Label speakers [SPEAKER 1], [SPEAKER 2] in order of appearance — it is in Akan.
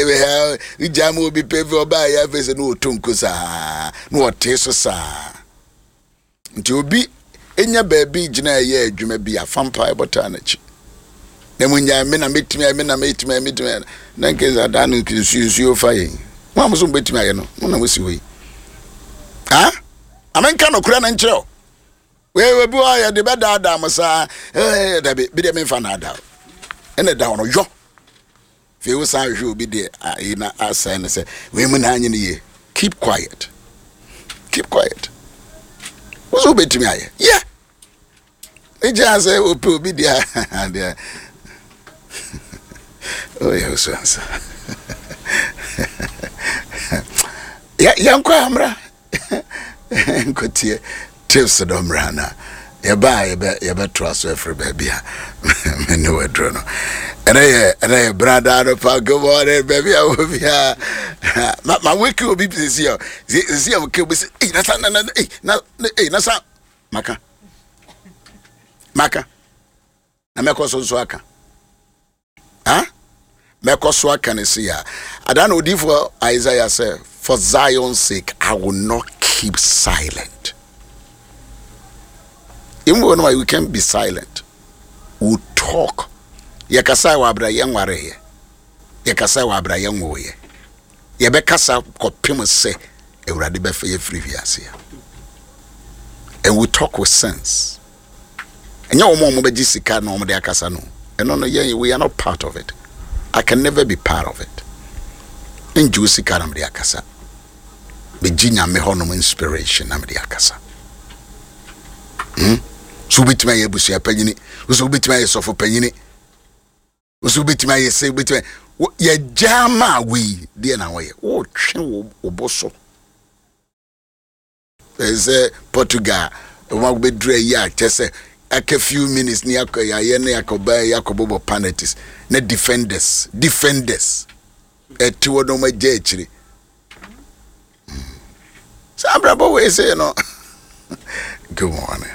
[SPEAKER 1] Wogyaa ma obi pɛ fi ɔbaa yɛ afei sɛ na ɔtɔ nko saa na ɔte so saa. Nti obi nya baabi gyina ɛyɛ adwuma bi a fa mpaebɔ taa n'akyi. Na mu nyaa me na mɛtumi ayɛ me na mɛtumi ayɛ mɛtumi ayɛ na nke sɛ adaa no nsuo nsuo fa yɛn. Mo a mo so mobɛtumi ayɛ no mo na mo si hɔ yi. Ha? Amenka nokorɛ no nkyerɛ o. Wei obi wɔ hɔ a yɛde bɛdaadaa mo saa ɛɛ dabi bi deɛ memfa naadaa o. Ɛna ɛda hɔ no yɔ. Afei wo san hwehwɛ obi deɛ ayi na asɛe no sɛ wei mu na anyi no yie. Keep quiet. Keep quiet. Wo so wobɛtumi ayɛ. Yɛ. Egya sɛ opɛ obi deɛ deɛ. Oyɛ wo so ansa. Yɛnkɔ amra. Nkotie tips no mmra na yɛba a yɛbɛ yɛbɛtoa so afiri baabi a me ne waduro no. Ɛnɛ yɛ ɛnɛ yɛ brada no pa. Good morning baabi a wɔ biara. Ma ma wake obi sisi a sisi a wɔke obi sɛ ei na sa na na ei na ei na sa maka maka na mɛkɔ so nso aka. Ha? Mɛkɔ so aka no sei a. Ada na odiyifoɔ Isaiah sɛ, For Zion's sake, I will not keep silent. Even when we can be silent, we talk. Yɛkasa wɔ abira yɛn nwareeɛ. Yɛkasa wɔ abira yɛn nwoeɛ. Yɛbɛkasa kɔpem sɛ Awurade bɛfa yɛ firi wiase. And we talk with sense. Ɛnyɛ wɔn a wɔbɛgye sika na wɔde akasa no. Ɛno no yɛn we are not part of it. I can never be part of it. Ngye wo sika na mede akasa. Megye nyame hɔnom inspiration na mede akasa. Hmm? So wobɛtumi ayɛ abusua panyini, so wobɛtumi ayɛ sɔfo panyini, so wobɛtumi ayɛ sɛ wobɛtumi yɛgya ma wei deɛ na wɔyɛ wotwe wo bo so. Sɛ Portugal wɔn akɔbɛduru ayi a kyɛ sɛ aka few minutes ne akɔ yɛayɛ ne akɔba yi akɔbɔbɔ penalties na defenders defenders ɛte hɔ na wɔn agya akyire saa abrabɔ wei sei no. Good morning.